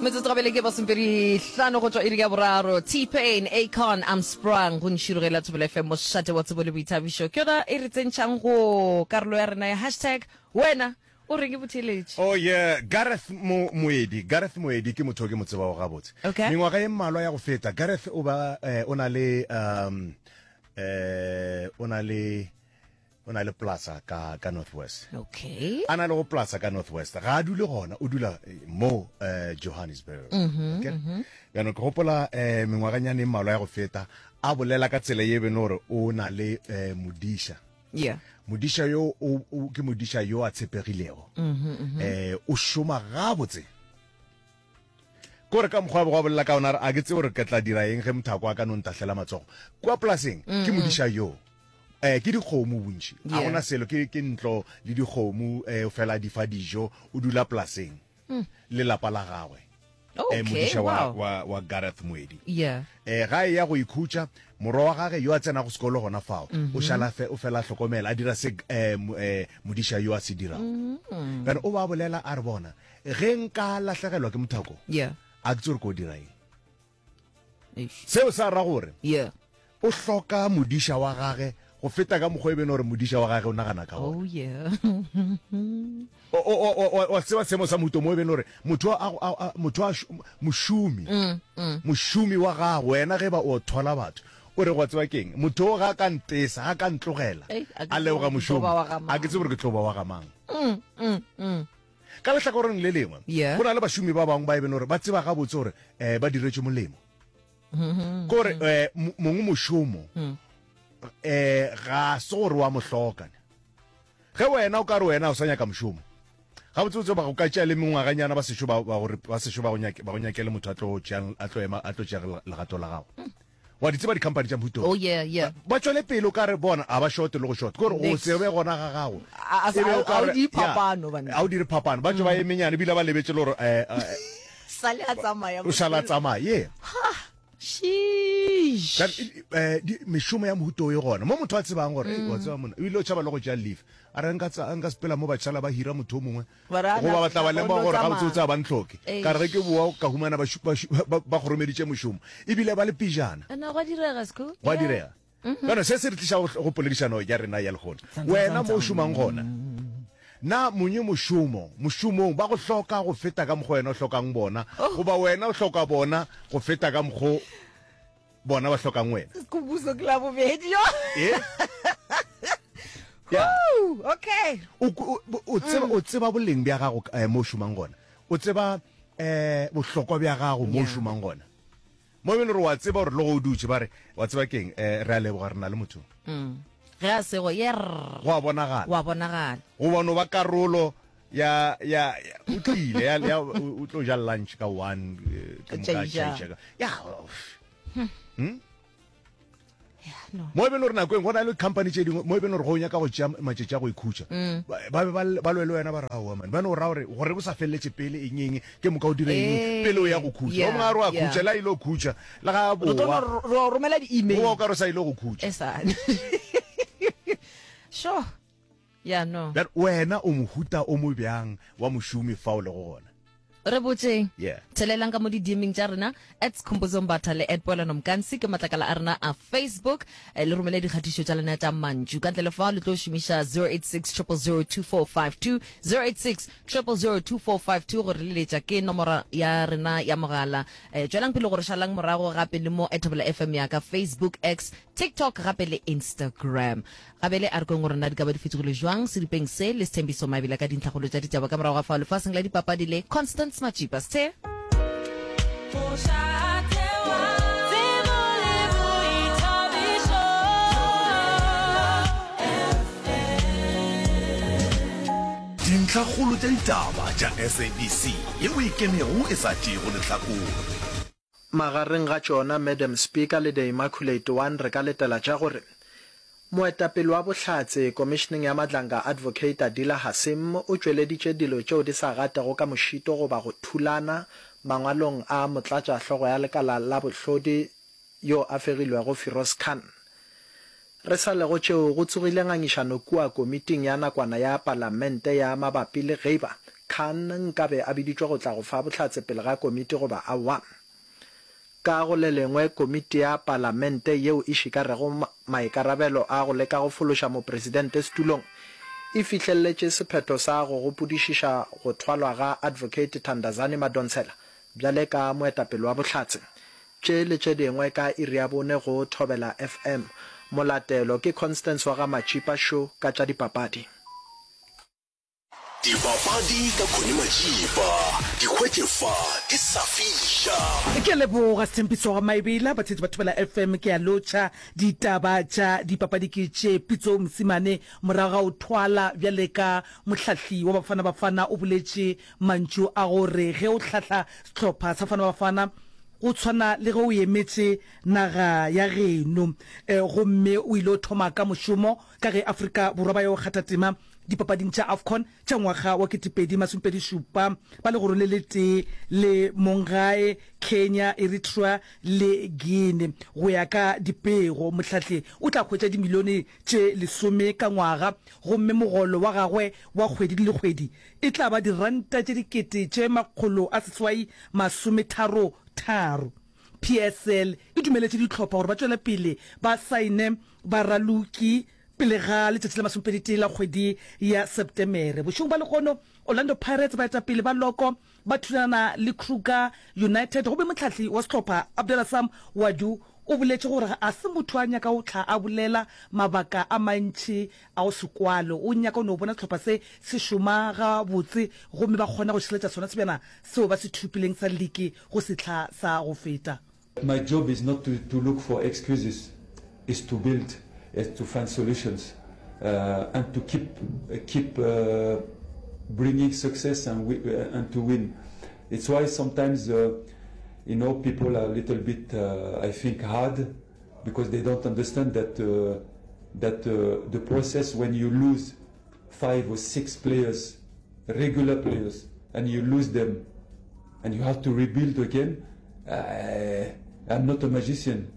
Metsotso gabele ke masomepedi hlano go tšwa iri ya boraro. T-Pain, Akon, I'm Sprung go Nširogela Thobela FM mošate wa tsebo le boithabišo. Ke yona e re tsentšhang go karolo ya rena ya hashtag wena o reng ke botheeletši. Oh yeah, Gareth Mo Moedi, Gareth Moedi ke motho o ke mo tsebago gabotse. Okay. Mengwaga e mmalwa ya go feta, Gareth o ba eh, o na le um eh o na le o na le plaza ka ka North West. Okay. A na le go plaza ka North West. Ga a dule gona, o dula eh, mo eh, Johannesburg. Mm -hmm, okay? mm -hmm. Jaanong ke gopola eh, mengwaganyana e mmalwa ya go feta a bolela ka tsela ye bene gore o na le eh, modiša. Yeah. Modiša yo o, o ke modiša yo a tshepegilego. Mm -hmm, mm -hmm. Eh, o šoma gabotse. Kore ka mokgwa a bego a bolela ka ona a re a ke tsebe gore ke tla dira eng ge mothako a ka no ntahlela matsogo. Kua polaseng ke modiša yo. Eh ke dikgomo bontši. A gona selo ke ke ntlo le dikgomo eh o fela di fa dijo o dula polaseng le lapa la gagwe. Okay, eh modiša wa, wow. wa, wa Gareth Moedi. Yeah. Eh ga e ya go ikhutša morwa wa gage yo a tsenago sekolo gona fao o šala fe, o fela a hlokomela a dira se eh, eh, modiša yo a se dirago. Bjale o ba bolela a re bona Ge nka lahlegelwa ke mothako, Yeah. a ke tsebe gore ko dira eng. Eish. Seo sa ra gore Yeah. o hloka modiša wa gage go feta ka mokgwa e bene gore modiša wa gage o nagana ka Oh gona. yeah. O- o- o- o- wa tseba seemo sa mohuto mo e bene gore motho a, a, a, motho a, mošomi mošomi wa gago wena ge ba o thola batho o re go tseba keng motho o ga ka ntesa ga ka ntlogela Ei, a ke a leboga tsebe gore ke tlo mošomo ba wa ga a ke tsebe gore ke tlo ba wa ga mang Mm, mm, mm. Ka lehlakoreng le lengwe, Yeah. go na le bašomi ba bangwe ba e bene gore ba tseba gabotse gore um ba diretšwe molemo. Ke gore um mongwe mošomo um ga se gore wa mo hloka. Ge wena o ka re wena o sa nyaka mošomo, gabotsebotse ba go ka tšea le mengwaganyana ba sešo ba ba gore ba sešo ba go nyake ba go nyakele motho a tlo tšeang a tlo ema a tlo tšea legato la gago. Wa di tseba di-company tša mohuta Oh yeah, yeah. Ba tšwele pele o ka re bona a ba short le go short. Ke gore go Next. se be gona ga gago. A- a- E be o ka a o re- di ya, phapano, banna. A o dire phapano. Ba tšwe ba emenyane ebile ba lebetše le gore eh, eh, Sale a tsamaya. o šala a tsamaya. Yeah. Sheesh. Ka- eh, di- mešomo ya mohuta o e gona mo motho a tsebang gore "Ei, wa tseba monna o ile o tšhaba le go tšea leave a re nka tsa- nka sepela mo ba tšhala ba hira motho o mongwe Goba ba tla ba lemoga gore gabotsebotse ga ba ntlhoke. Ka re ge ke boa ka humana ba, ba, ba, ba kgoromeditše mošomo ebile ba le pejana. Na gwa direga, Sco? Gwa direga. Bjano se se re tliša go poledišano ya rena ya lehono. Wena mo o šomang gona, na monye mošomo mošomong ba go hloka go feta ka mokgwa wena o hlokang bona, goba wena o hloka bona go feta ka mokgwa bona ba hlokang wena? Skhumbuzo ke la bobedi yo. Eh? Yeah. Woo, okay. O, o, o tseba, o tseba boleng bja gago eh, mo o šomang gona. O tseba eh, bohlokwa bja gago mo o Yeah. šomang gona. Mo e bile gore wa tseba gore le go o dutše ba re wa tseba keng eh, re a leboga re na le motho. Mm. Ge a sego yerr. Go a bonagala. Wa bonagala. Goba no ba karolo ya ya ya- o tlile ya, ya o o tlo ja lunch ka one eh, ke moka a Tšaiša. tšaiša ka- ya hmm? No. mo e beng gore nako eng go na le company tše dingwe mo e beng gore go nyaka go tšea matšatši a go ikhutša Mm. ba ba be ba ba lwe le wena ba re aowa man ba no ra gore gore o sa feleletše pele eng eng ke moka o dire eng Eh, pele o ya go khutša yeah, o mongwe a re wa yeah. khutša le a ile go khutša le ga a Re tlo boa no ro- ro romela di-email. goba o ka re o sa ile go khutša E sa. Sure. Ya no. Bjale wena o mohuta o mo bjang wa mošomi fa o lego gona? Re botšeng. Yeah. Tshelelang ka mo di-DMing tša rena at Skhumbuzo Mbatha le at Poelano Mkansi ke matlakala a rena a Facebook. Eh, le romele dikgatišo tša lena tša mantšu. Ka ntle le fao le tlo šomiša 086 000 2452 086 000 2452 gore le letša ke nomoro ya rena ya mogala. Eh, tšwelang pele gore šalang morago gape le mo at Thobela FM ya ka Facebook, X, TikTok gape le Instagram. Gabele a re kweng gore na di ka ba di fetogile jwang seripeng se le Sthembiso Mabila ka dintlhakgolo tša ditaba ka morago ga fao lefaseng la dipapadi le Constance Matšipa. Sthe. Dintlhakgolo tša ditaba tša SABC yeo e ikemego e sa tšeego lehlakore. Magareng ga tšona Madam Speaker le The Immaculate One re ka letela tša gore Moetapele wa Bohlatse Komišeneng ya Madlanga Advocate Adila Hassim o tšweleditše dilo tšeo di sa gatego ka mošito goba go thulana mangwalong a Motlatšahlogo ya Lekala la Bohlodi yo a fegilwego Firoz Khan. Re sa le go tšeo go tsogile ngangišano kua Komiting ya Nakwana ya Palamente ya mabapi le geiba. Khan nkabe a biditšwe go tla go fa bohlatse pele ga komiti goba aowa. Ka go le lengwe, komiti ya palamente yeo e šikarego maikarabelo a go leka go fološa mopresidente setulong e fihleletše sephetho sa go gopodišiša go thwalwa ga Advocate Thandazani Madonsela bjale ka moetapele wa bohlatse. Tše le tše dingwe ka iri ya bone go Thobela FM. Molatelo ke Constance wa ga Matšipa Sho ka tša dipapadi. Dipapadi ka Connie Matšipa, di hwetše fa di sa fiša. Ke a leboga Sthembiso ga Maebela, batheetši ba Thobela FM ke a lotšha. Ditaba tša dipapadi ke tše, Pitso Mosimane morago ga go thwala bjale ka mohlahli wa Bafana Bafana o boletše mantšu a gore ge o hlahla sehlopha sa Bafana Bafana go tshwana le ge o emetše naga ya geno gomme o ile thoma ka mošomo ka ge Afrika Borwa ba yo kgatha tema Dipapading tša AFCON tša ngwaga wa 2027, ba legoro le letee le monggae Kenya, Eritrea le Guinea. Go ya ka dipego, mohlahli o tla hwetša dimilione tše lesome ka ngwaga gomme mogolo wa gagwe wa kgwedi le kgwedi e tla ba diranta tše 833. PSL e dumeletše dihlopha gore ba tšwele pele ba saene baraloki Pele ga letšatši la masomepeditee la kgwedi ya Sepetemere, bošego bja lehono, Orlando Pirates baetapele ba loko ba thulana le Kruger United gomme mohlahli wa sehlopha Abdella Sam Ouaddou o boletše gore ga se motho a nyaka go hla a bolela mabaka a mantši a go se kwale, o nyaka go no bona sehlopha se se šoma gabotse gomme ba kgona go šireletša sona sebjana seo ba se thopileng sa liki go sehla sa go feta. My job is not to to look for excuses, is to build, is to find solutions and to keep keep bringing success and and to win. It's why sometimes you know people are a little bit I think hard because they don't understand that that the process when you lose five or six players, regular players, and you lose them and you have to rebuild again. Uh, I'm not a magician.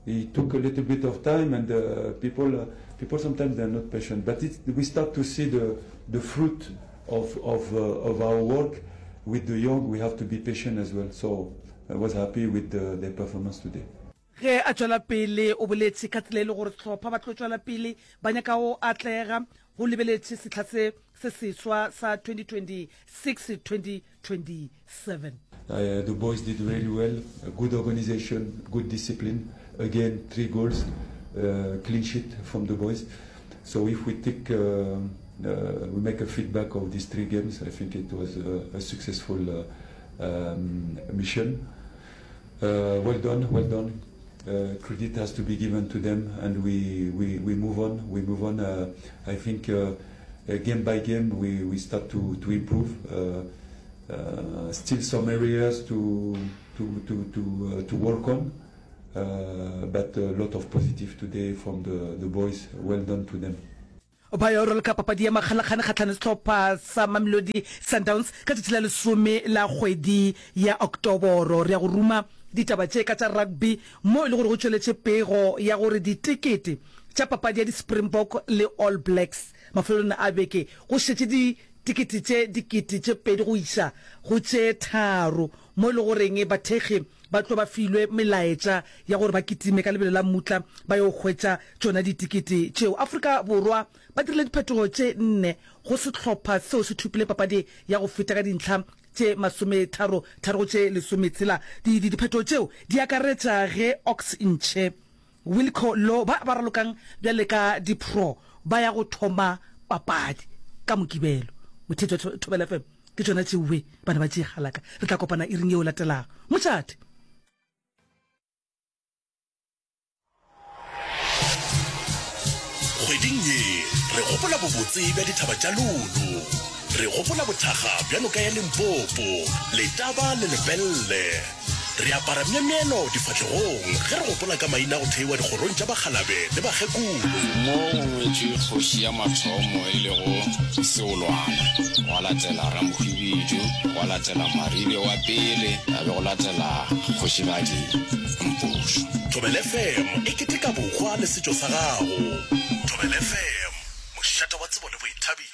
It took a little bit of time, and uh, people, uh, people sometimes they're not patient. But it, we start to see the, the fruit of, of, uh, of our work with the young. We have to be patient as well. So I was happy with the, their performance today. Ge a tšwela pele o boletše ka tsela e le gore sehlopha ba tlo tšwela pele ba nyaka go atlega go lebeletše sehla se se seswa sa 2026-2027. The boys did really well, good organization, good discipline, again three goals, clean sheet from the boys. So if we take, we make a feedback of these three games, I think it was a, a successful um, mission. Well done, well done. Credit has to be given to them and we, we, we move on. We move on. I think game by game we, we start to, to improve. Still some areas to, to, to, to, to work on. But a lot of positive today from the, the boys. Well done to them. Ba yo raloka papadi ya makgalakgane kgahlano le sehlopha sa Mamelodi Sundowns ka tšatši la lesome la kgwedi ya Oktoboro. Re ya go ruma ditaba tše ka tša rugby mo e le gore go tšweletše pego ya gore ditekete tša papadi ya di-Springbok le All Blacks mafelelong a beke go šetše ditekete tše 2000 go iša go tše tharo mo e le goreng bathekgi ba tlo ba filwe melaetša ya gore ba kitime ka lebelo la mmutla ba yo hwetša tšona ditikete tšeo. Afrika Borwa ba dirile diphetogo tše nne go sehlopha seo se thopile papadi ya go feta ka dintlha tše masometharo tharo go tše lesometshela. Diphetogo tšeo di akaretša ge Ox Nche, Wilco Louw ba ba ralokang bjale ka di-pro ba ya go thoma papadi ka Mokibelo. Motheetši wa Thobela FM. Ke tšona tšeoe bana ba tše galaka. Re tla kopana iring yeo latelago. Mošate! Kgweding ye re gopola bobotse bja dithaba tša Lulu. Re gopola bothakga bja noka ya Limpopo, Letaba le Lepelle. Re apara myemyelo difahlegong ge re gopola ka maina a go theiwa dikgorong tša bakgalabe le bakgekolo. Mo go ngwetšwe kgoši ya mathomo e lego Seolwana, gwa latela Ramohwibidu, gwa latela Maribe wa pele, ya be go latela Kgošigadi Mpošo. Thobela FM e keteka bohwa le setšo sa gago. Thobela FM, mošate wa tsebo le boithabišo.